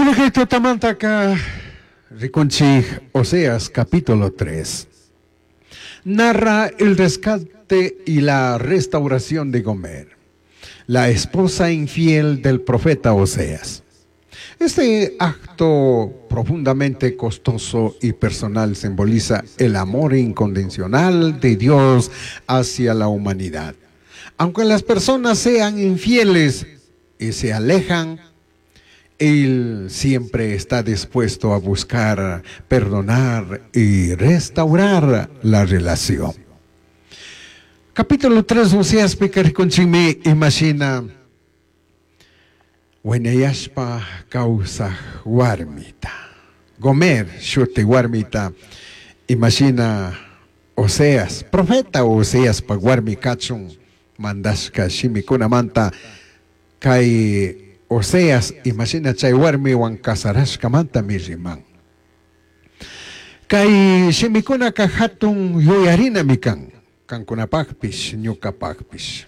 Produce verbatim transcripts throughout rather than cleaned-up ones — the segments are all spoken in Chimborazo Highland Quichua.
Kunakay tutamantaka rikunchik Oseas capítulo tres. Narra el rescate y la restauración de Gomer, la esposa infiel del profeta Oseas. Este acto profundamente costoso y personal simboliza el amor incondicional de Dios hacia la humanidad. Aunque las personas sean infieles y se alejan, Él siempre está dispuesto a buscar, perdonar y restaurar la relación. Capítulo tres, Oseas rikunchikmi imashina waynayashpa kawsaj warmita. Gomer shuti warmita imashina Oseas, profeta Oseas pa warmi kachun mandashka shimikunamanta kay Oseas imashina chay warmiwan kasarashkamanta riman. Kay shimikunaka hatun yuyarinami kan, kankunapakpish, ñukapakpish.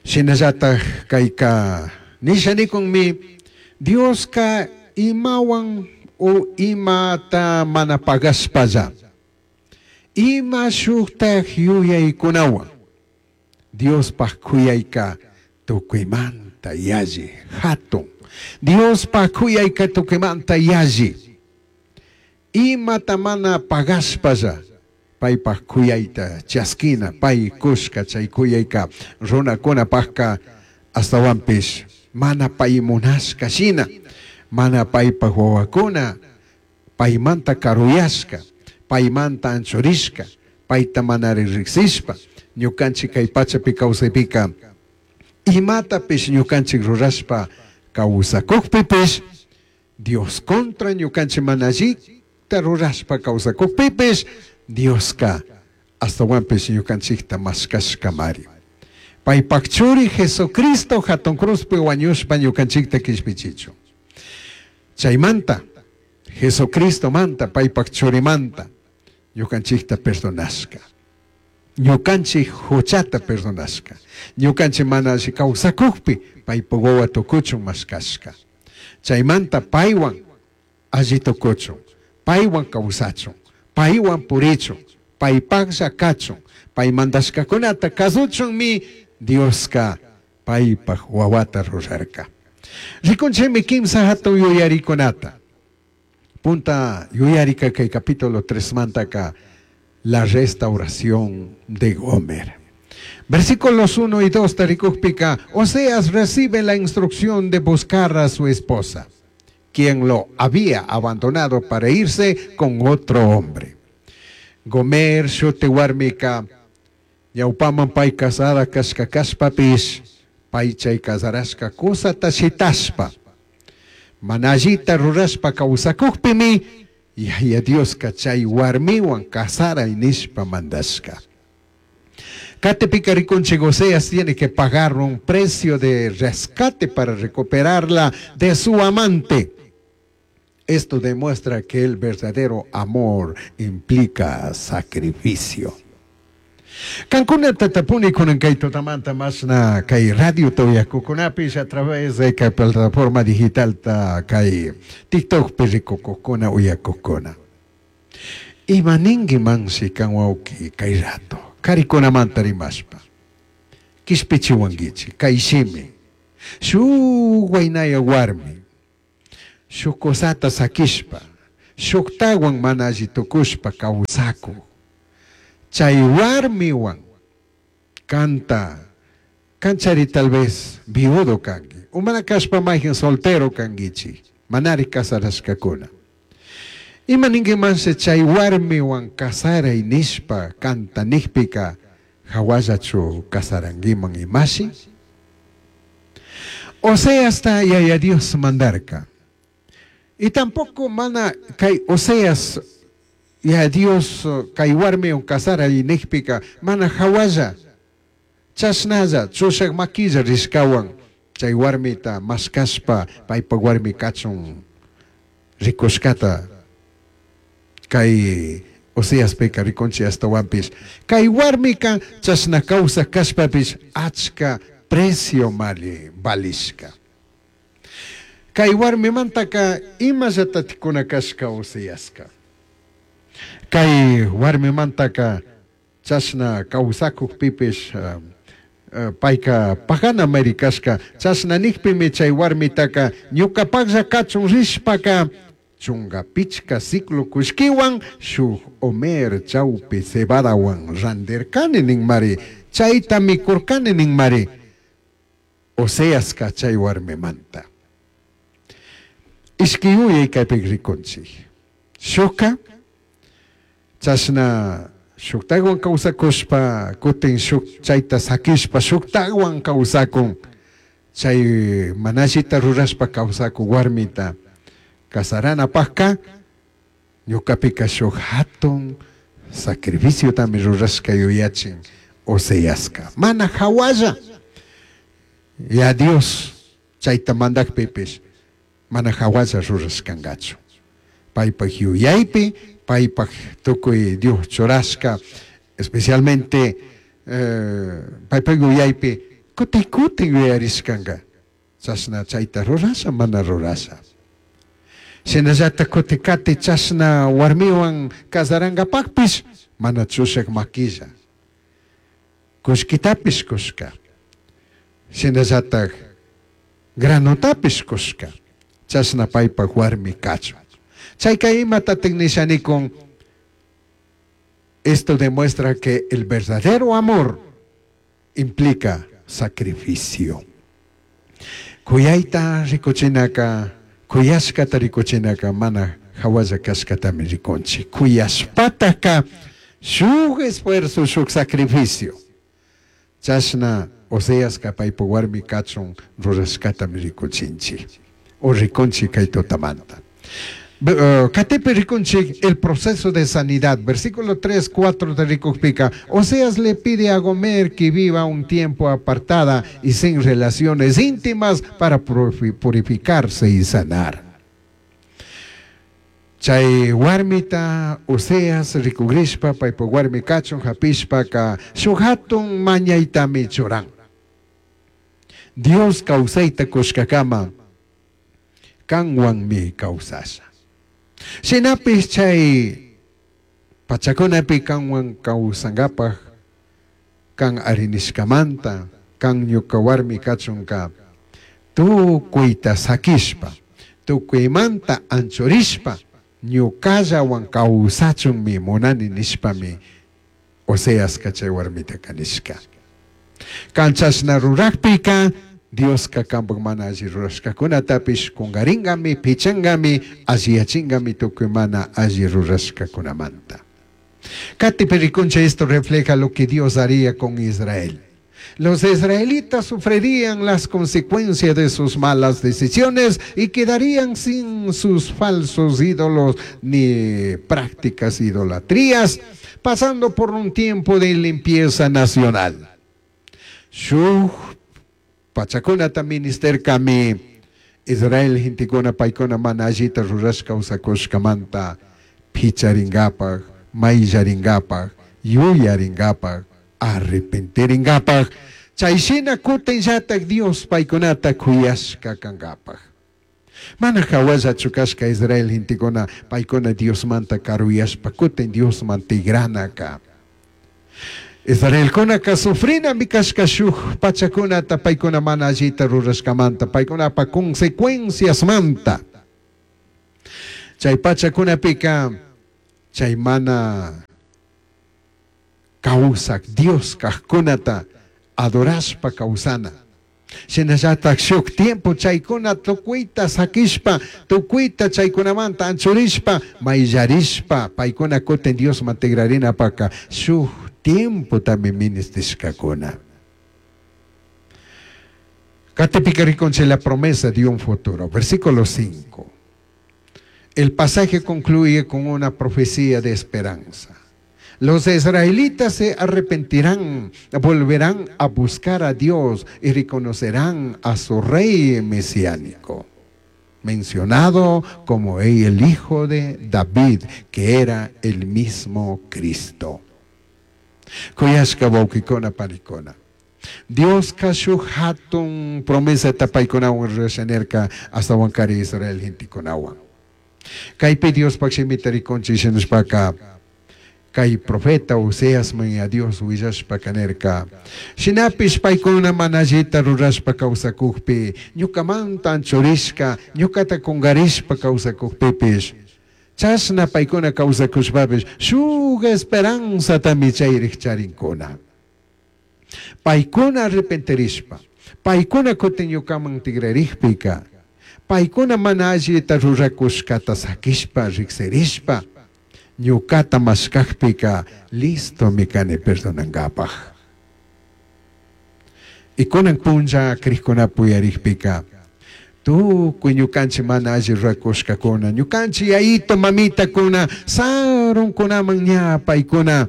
Shinallataj kayka nisha nikunmi Dioska imawan o imata mana pagashpalla, ima shuktaj yuyaykunawan Diospaj kuyayka tukuymanta yalli hatun. Diospaj kuyayka tukuymanta yalli. Imata mana pagashpalla paypaj kuyayta chaskina, pay kushka chay kuyayka runakunapajka astawanpish mana pay munashka shina, mana paypaj wawakuna paymanta karuyashka, paymanta anchurishka, payta mana riksishpa ñukanchik kay pachapi kawsaypika imatapish ñukanchik rurashpa kawsakukpipish Dios contra ñukanchik mana allita rurashpa kawsakukpipish Dioska astawanpish ñukanchikta mashkashkamari. Paypak churi Jesucristo hatun cruzpi wañushpa ñukanchikta kishpichichun. Chaymanta Jesucristo manta paypak churimanta ñukanchikta perdonashka. Ñukanchik huchata perdonashka. Ñukanchik mana alli kawsakukpi paypak wawa tukuchun mashkashka. Chaymanta paywan alli tukuchun, paywan kawsachun, paywan purichun, paypaklla kachun, pay mandashkakunata kasuchunmi Dioska paypak wawata rurarka. Rikunchikmi kimsa hatun yuyarikunata. Punta yuyarika kay capítulo tres mantaka la restauración de Gomer. Versículos uno y dos tarikukpika, Oseas recibe la instrucción de buscar a su esposa, quien lo había abandonado para irse con otro hombre. Gomer shuti warmika, ñawpaman pay casada kashka kashpapish, pay chay casarashka kusata shitashpa, mana allita rurashpa kawsakukpimi, Yaya Dioska chay warmiwan kasaray nishpa mandashka. Katipika rikunchik Oseas tiene que pagar un precio de rescate para recuperarla de su amante. Esto demuestra que el verdadero amor implica sacrificio. Kankuna tatapuni kunan kay tutamanta masna kay radio toyakukunapish a través de kay plataforma digital ta kay TikTok pirikukukuna uyakukuna. Ima ninki mansi kan wawki kay rato. Karikunamanta rimashpa. Kishpichiwankichik kay shimi. Shuk waynaya warmi. Shuk kusata sakishpa. Shuktawan mana alli tukushpa kawsakuk. Chay warmiwan kanta kanchari tal vez viudo kanki umana kashpa mayjin soltero kankichik manari kasarashkakuna. Ima ninkimanshi chay warmiwan kasaray nishpa kanta nikpika hawallachu kasarankiman imashi. Oseasta Yaya Dios mandarka. Y tampoco mana kay Oseas ya Dios kay warmiwan kasaray nikpika mana hawalla chashnalla chushak makilla rishkawan chay warmita mashkashpa paypak warmi kachun rikushkata kay Oseaspika rikunchik astawanpish kay warmika chashna kawsak kashpapish achka precio mali valishka. Kay warmimantaka imallatatikuna kashka Oseaska. Kay warmimantaka chashna kawsakukpipish uh, uh, payka pagana mari kashka chashna nikpimi chay warmitaka ñukapaklla kachun rishpaka chunga pichka siclo kullkiwan shuk homer chawpi cebadawan randirkani ninmari chayta mikurkani ninmari Oseaska chay warmimanta. Ishki yuyay kaypi rikunchik. Shukka chashna shuktawan kawsakushpa kutin shuk chayta sakishpa shuktawan kawsakun chay manallita rurashpa kawsakun warmita kasaranapakka ñukapika shuk hatun sacrificiotami rurashka yuyachin Oseaska mana hawalla ya Dios chayta mandakpipish mana hawalla rurashkankachu paypak yuyaypi paypak tukuy Dios churashka especialmente eh, paypak yuyaypi kutin kutin yuyarishkanka chashna chayta rurasha mana rurasha shinallata kuti kati chashna warmiwan kasarankapakpish mana chushak makilla kullkitapish kushka shinallatak granotapish kushka chashna paypak warmi kachun chayka imatatik nishanikun esto demuestra que el verdadero amor implica sacrificio. Kuyayta rikuchinaka kuyashkata rikuchinaka mana hawalla kashkatami rikunchik kuyashpataka shuk esfuerzo shuk sacrificio chashna Oseaska paypak warmi kachun rurashkatami rikuchinchik o rikunchik kay tutamanta. Katipi rikunchik el proceso de sanidad. Versículo tres, cuatro de rikukpika. Oseas le pide a Gomer que viva un tiempo apartada y sin relaciones íntimas para purificarse y sanar. Chay warmita Oseas rikugrishpa paypak warmi kachun hapishpaka shuk hatun mañaytami churan. Dios kawsayta kushkakama kanwanmi kawsasha. Shinapish chay pachakunapi kanwan kawsankapaj kan arinishkamanta kan ñuka warmi kachunka tukuyta sakishpa tukuymanta anchurishpa ñukallawan kawsachunmi munani nishpami Oseaska chay warmitaka nishka. Kan chashna rurakpika Dioska kanpak mana alli rurashkakunatapish kungaringami pichangami alliyachingami tukuy mana alli rurashkakunamanta. Katipi rikunchik esto refleja lo que Dios haría con Israel. Los israelitas sufrirían las consecuencias de sus malas decisiones y quedarían sin sus falsos ídolos ni prácticas idolatrías, pasando por un tiempo de limpieza nacional. Shuk pachakunata ministerkami Israel gentekuna paykuna mana allita rurashka kawsakushkamanta picharinkapak, mayllarinkapak, yuyarinkapak, arrepentirinkapak, chayshina kutinllatak Dios paykunata kuyashka kankapak. Mana hawallachu kashka Israel gentekuna paykuna Diosmanta karuyashpa kutin Diosman tigranaka. Israelkunaka sufrinami kashka shuk pachakunata paykuna mana allita rurashkamanta paykunapa consecuenciasmanta. Chay pachakunapika chay mana kawsak Dios kajkunata adorashpa kawsana. Shinallatak shuk tiempo chaykuna tukuyta sakishpa tukuyta chaykunamanta anchurishpa mayllarishpa paykuna kutin Diosman tigrarinapaka shuk tiempo también ministishkakuna. Katipika rikunchik la promesa de un futuro. Versículo cinco. El pasaje concluye con una profecía de esperanza. Los israelitas se arrepentirán, volverán a buscar a Dios y reconocerán a su rey mesiánico, mencionado como el hijo de David, que era el mismo Cristo. Kuyashka wawkikuna panikuna. Dioska shuk hatun promesata paykunawan rurasha nirka ashtawankari Israel gentekunawan. Kaypi Diospaj shimita rikunchik shinashpaka kay profeta Oseasman ya Dios willashpaka nirka shinapish paykuna mana allita rurashpa kawsakukpi ñukamanta anchurishka ñukata kungarishpa kawsakukpipish chashna paykuna kawsakushpapish shuk esperanzatami chayrik charinkuna. Paykuna arrepentirishpa, paykuna kutin ñukaman tigrarikpika, paykuna mana allita rurakushkata sakishpa riksirishpa, ñukata mashkakpika listomi kani perdonankapaj. Y kunan punlla krikkunapi uyarikpika, tukuy ñukanchik mana alli rurakushkakuna, ñukanchik yayito mamitakuna, sarunkunaman ña paykuna,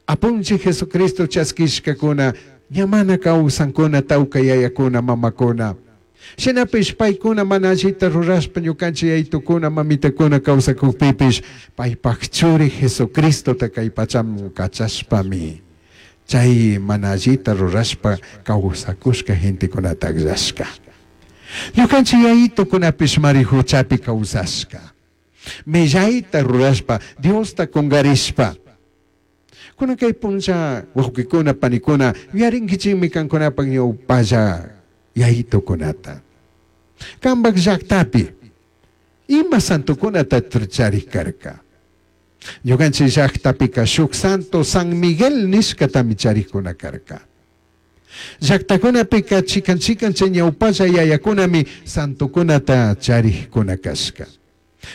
Apunchik Jesucristo chaskishkakuna, ña mana kawsankuna tawka yayakuna mamakuna. Shinapish paykuna mana allita rurashpa ñukanchik yayitukuna mamitakuna kawsakukpipish paypak churi Jesucristota kay pachaman kachashpami chay mana allita rurashpa kawsakushka gentekunata akllashka. Ñukanchik yayitukunapish mari huchapi kawsashka. Millayta rurashpa, Diosta kungarishpa. Kunan kay punlla wawqikuna panikuna yuyarinkichikmi kankunapak ñawpalla yayitukunata. Kampak llaktapi ima santokunata charik karka. Ñukanchik llaktapika shuk santo San Miguel nishkatami charikuna karka. Llaktakunapika chikan chikan chay ñawpalla yayakunami santokunata charikuna kashka.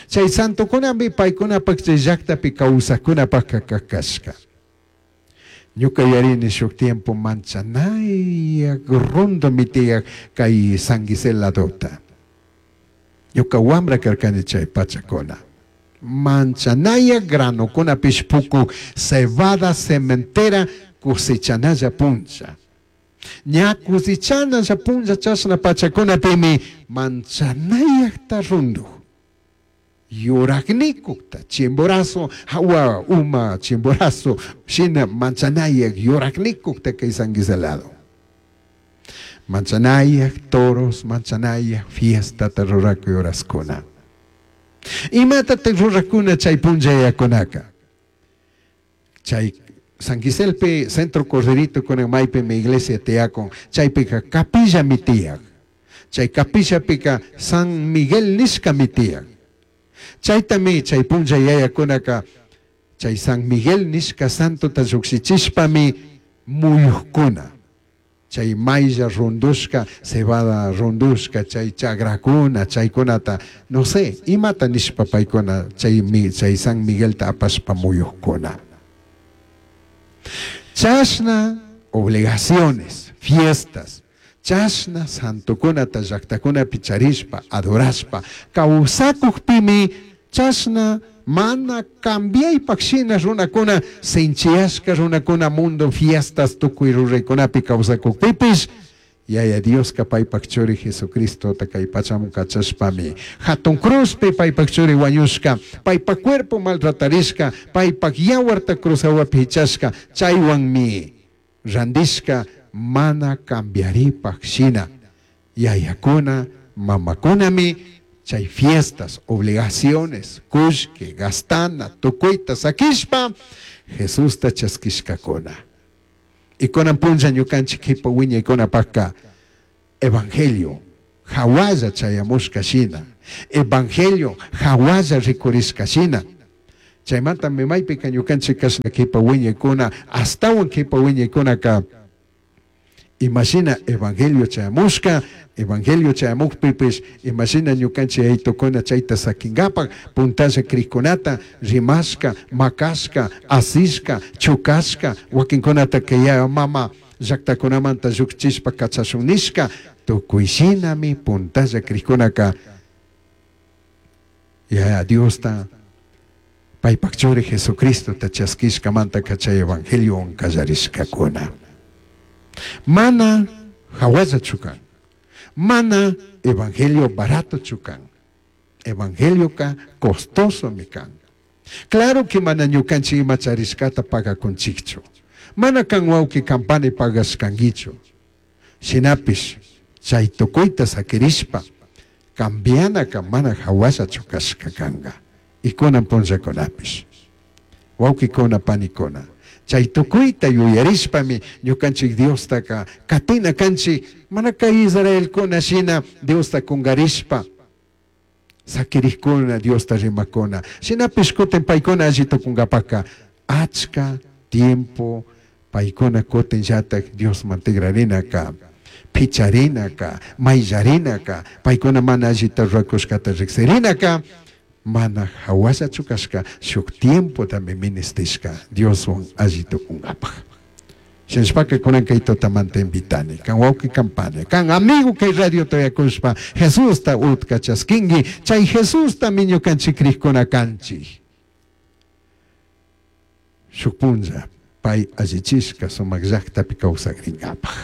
Chay santokunami paykunapak chay llaktapi kawsakkunapakka kashka. Ñuka yuyarini shuk tiempo manchanayak rundomi tiyak kay San Gisel ladota. Ñuka wambra karkani chay pachakuna. Manchanayak granokunapish pukuk cebada cementera cosechanalla punlla. Ña cosechanalla punlla chashna pachakunapimi manchanayakta rundu. Yuraknikukta, Chimborazo, hawa uma Chimborazo, shina manchanayak yuraknikukta kay San Gisel lado. Manchanayak toros, manchanayak fiestata rurakuy horaskuna. Imatataq rurakuna chay punllayakunaka? Chay San Giselpi Centro Corderito kunan maypimi iglesia tiyakun, chaypika capillami tiyak. Chay capillapika San Miguel nishkami tiyak. Chaytami chay punlla yayakunaka chay San Miguel nishka santota llukshichishpami muyukuna. Chay maylla rundushka, cebada rundushka, chay chagrakuna, chaykunata, no sé, imata nishpa paykuna chay, chay San Miguelta apashpa muyukuna. Chashna obligaciones, fiestas, chashna santokunata llaktakunapi charishpa, adorashpa, kawsakukpimi chashna mana cambiaypak shina runakuna, sinchiyashka runakuna mundo fiestas tukuy ruraykunapi kawsakukpipish, Yaya Dioska paypak churi Jesucristota kay pachaman kachashpami hatun cruzpi paypak churi wañushka, paypak cuerpo maltratarishka, paypak yawarta cruz hawapi hichashka, chaywanmi randishka mana cambiaripak shina. Yayakuna, mamakunami chay fiestas, obligaciones, kullki, gastana, tukuyta sakishpa, Jesusta chaskishkakuna. Y kunan punlla ñukanchik kipa wiñaykunapakka evangelio hawalla chayamushka shina, evangelio hawalla rikurishka shina. Chaymantami maypika ñukanchik kashna kipa wiñaykuna, astawan kipa wiñaykunaka imashina evangelio chayamushka, evangelio chayamukpipish imashina ñukanchik yaytukuna chayta sakinkapak puntalla krikkunata rimashka, makashka, asishka, chukashka, wakinkunata kay yaya mama llaktakunamanta llukchishpa kachashun nishka, tukuy shinami puntalla krikkunaka Yaya Diosta paypak churi Jesucristota chaskishkamanta chay evangeliowan kallarishkakuna. Mana hawallachu kan, mana evangelio baratochu kan, evangelioka costosomi kan. Claro que mana ñukanchik ima charishkata pagakunchikchu, mana kan wawqi kampani pagashkankichu. Shinapish chay tukuyta sakirishpa cambianaka mana hawallachu kashka kanka. Y kunan punllakunapish. Wawkikuna panikuna. Chay tukuyta yuyarishpami ñukanchik Diostaka katina kanchik mana kay Israelkuna shina Diosta kungarishpa sakirikkuna Diosta rimakuna. Shinapish kutin paykuna alli tukunkapaka achka tiempo paykuna kutinllatak Diosman tigrarinaka picharinaka mayllarinaka paykuna mana allita rurakushkata riksirinaka mana hawallachu kashka shuk tiempotami ministishka Dioswan alli tukunkapaj. Shinashpaka kunan kay tutamanta invitani, kan wawqi kan pani, kan amigo kay radio toyakushpa Jesusta utka chaskinki, chay Jesustami ñukanchik krikuna kanchik. Shuk punlla pay allichishka sumak llaktapi kawsakrinkapaj.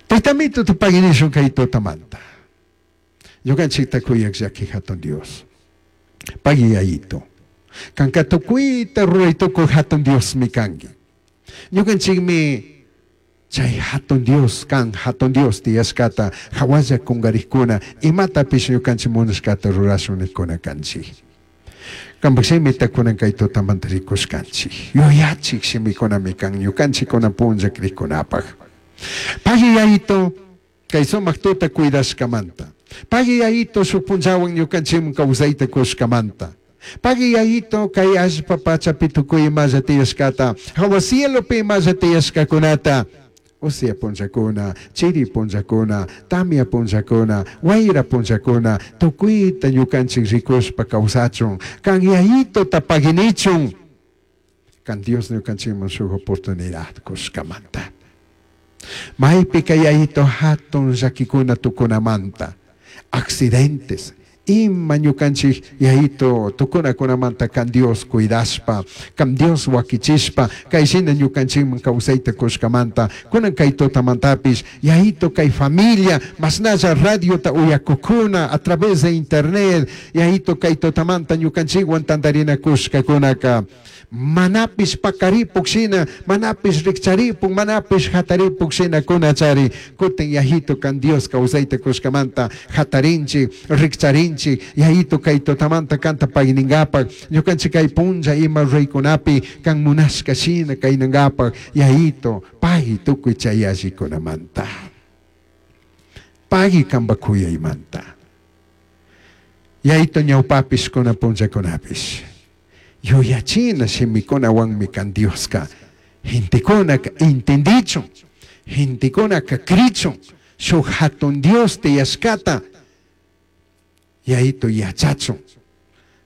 Taytamito tupaginishun kay tutamanta. Ñukanchikta kuyak llaki hatun Dios. Pagui yayito. Kanka tukuyta ruray tukuy hatun Diosmi kanki. Ñukanchikmi chay hatun Dios kan hatun Dios tiyashkata hawalla kungarikuna imatapish ñukanchik munashkata rurashun nikuna kanchik. Kanpak shimita kunan kay tutamanta rikushkanchik. Yuyachik shimikunami kan ñukanchik kunan punlla krikunapaj. Pagui yayito kay sumak tuta cuidashkamanta. Pagui yayito shuk punllawan ñukanchikman kawsayta kushkamanta. Pagui yayito kay allpa pachapi tukuy imalla tiyashkata, hawa cielopi imalla tiyashkakunata, usya punllakuna, chiri punllakuna, tamia punllakuna, wayra punllakuna, tukuyta ñukanchik rikushpa kawsachun, kan yayitota paginichun, kan Dios ñukanchikman shuk oportunidad kushkamanta. Maypi kay yayito hatun llakikuna tukunamanta, accidentes, ima ñukanchik yayito tukunakunamanta kan Dios cuidashpa, kan Dios wakichishpa, kay shina ñukanchikman kawsayta kushkamanta, kunan kay tutamantapish, yayito kay familia, mashnalla radiota uyakukuna a través de internet, yayito kay tutamanta ñukanchikwan tantarinakushkakunaka, manapish pakaripuk shina, manapish rikcharipuk, manapish hataripuk shina kunachari, kutin yayito kan Dios kawsayta kushkamanta hatarinchik, rikcharinchik, yayito kay tutamanta kanta pagningapak, ñukanchik kay punlla ima ruraykunapi kan munashka shina kaynangapak, yayito pagui tukuy chay allikunamanta. Pagui kanpak kuyaymanta. Yayito ñawpapish kunan punllakunapish. Yuyachina shimikunawanmi kan Dioska gentekunaka entendichun, gentekunaka krichun, shuk hatun Dios tiyashkata yayito yachachun.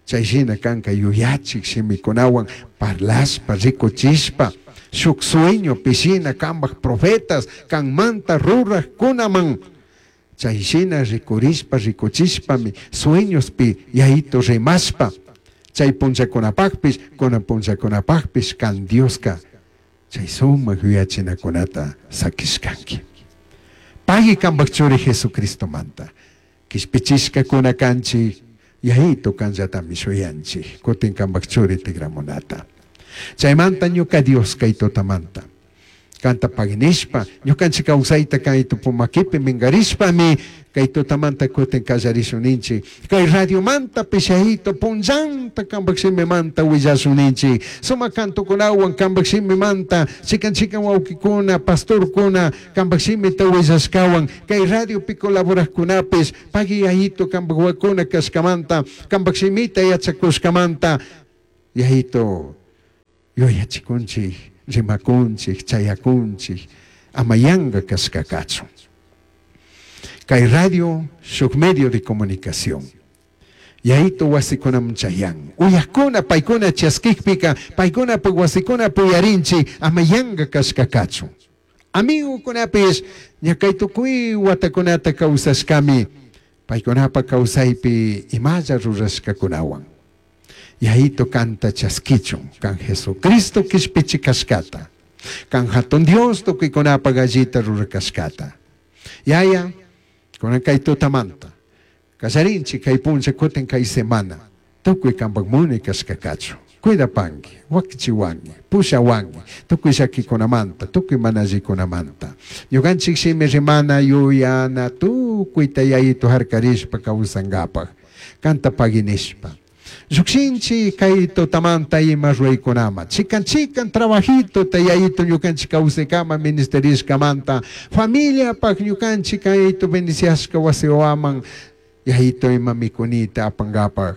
Chay shina kanka yuyachik shimikunawan parlashpa, rikuchishpa, shuk sueño pishina kanpak profetas kanmanta rurajkunaman. Chay shina rikurishpa, rikuchishpami sueñospi yayito rimashpa. Chay punllakunapakpish, kunan punllakunapakpish kan Dioska chay sumak yuyachinakunata sakishkanki. Pagui kanpak churi Jesucristomanta. Kishpichishkakuna kanchik, yayito kanllatami shuyanchik, kutin kanpak churi tigramunata. Chaymanta ñuka Dios kay tutamanta. Kanta paginishpa, ñukanchik kawsayta kay tupumakipi mingarishpami, kay tutamanta kutin kallarishun ninchik. Kay radiomanta pishayito punllanta kanpak shimimanta willashun ninchik. Sumak cantokunawan kanpak shimimanta, chikan chikan wawkikuna, pastorkuna, kanpak shimita willashkawan, kay radiopi colaborajkunapish, pagui yayito kanpak wakuna kashkamanta, kanpak shimita yachakushkamanta, yayito yuyachikunchik, rimakunchik, chayakunchik, ama yanka kashka kachun. Kay radio shuk medio de comunicación. Yayito wasikunaman chayan. Uyakuna paykuna chaskikpika, paykuna wasikuna puyarinchik, ama yanka kashka kachun. Amigukunapish, ña kay tukuy watakunata kawsashkami, paykunapa kawsaypi imalla rurashkakunawan. Yayito kanta chaskichun, kan Jesucristo kishpichi kashkata, kan hatun Dios tukuykunapa gallita rurakashkata. Yaya, kunan kay tutamanta, kallarinchik kay punlla kutin kay semana, tukuy kanpak muni kashka kachun. Cuidapanqui, wakichiwanki, pushawanki, tukuy llakikunamanta, tukuy mana allikunamanta. Ñukanchik shimi rimana yuyana tukuyta yayitu harkarishpa kawsankapaj, kanta pagui nishpa. Llukshinchik kay tutamanta ima ruraykunaman, chikan chikan trabajito yayitu ñukanchik kawsaykama ministerishkamanta, familiapaj ñukanchik yayitu bendiciashka wasiwaman, yayitu ima mikunita apankapaj.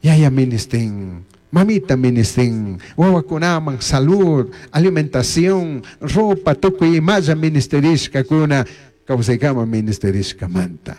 Yaya ministin, mamita ministin, wawakunaman salud, alimentación, ropa, tukuy imalla ministerishkakuna, kawsaykama ministerishkamanta.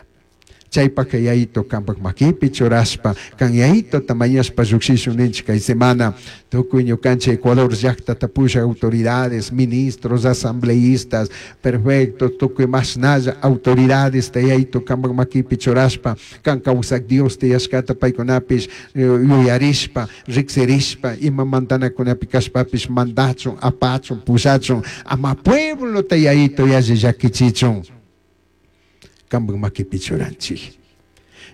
Chaypaka yayitu kampak makipi churashpa, kan yayituta mañashpa llukshishun ninchik kay semana, tukuy ñukanchik Ecuador llaktata pushak autoridades, ministros, asambleístas, perfecto, tukuy mashnalla autoridades yayitu kampak makipi churashpa, kan kawsak Dios tiyashkata paykunapish yuyarishpa, riksirishpa, ima mandanakunapi kashpapish mandachun, apachun, pushachun, ama pueblota yayitu yalli llakichichun. Kampak makipi churanchik.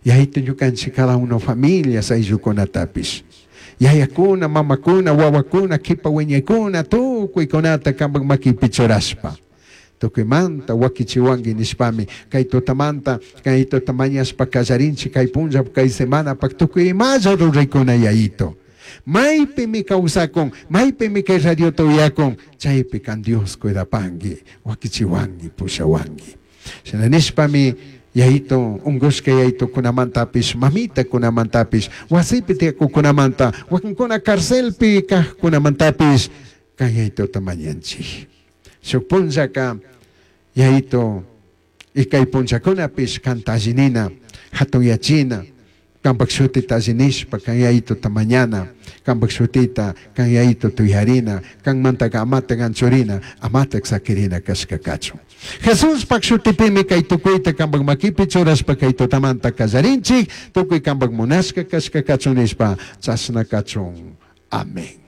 Yayitu ñukanchik cada uno familias ayllukunatapish. Yayakuna, mamakuna, wawakuna, kipa wiñaykuna, tukuykunata kampak makipi churashpa. Tukuymanta wakichiwanki nishpami, kay tutamanta, kay tuta mañashpa kallarinchik, kay punlla, kay semanapak tukuy imalla ruraykuna yayitu. Maypimi kawsakun, maypimi kay radiota uyakun, chaypi kan Dios cuidapanki, wakichiwanki, pushawanki. Shina nishpami yayitu unkushka yayitukunamantapish, mamitakunamantapish, wasipi tiyakukunamanta, wakinkuna carcelpi kajkunamantapish, kan yayituta mañanchik. Shuk punllaka yayitu ikay punllakunapish kanta allinina, hatunyachina, kampak shutita allinishpa kan yayituta mañana, kampak shutita kan yayitu tuyarina, kanmantaka amata anchurina, amata sakirina kashka kachun. Jesuspak shutipimi kay tukuyta kampak makipi churashpa kay tutamanta kallarinchik, tukuy kampak munashka kashka kachun nishpa, chashna kachun. Amén.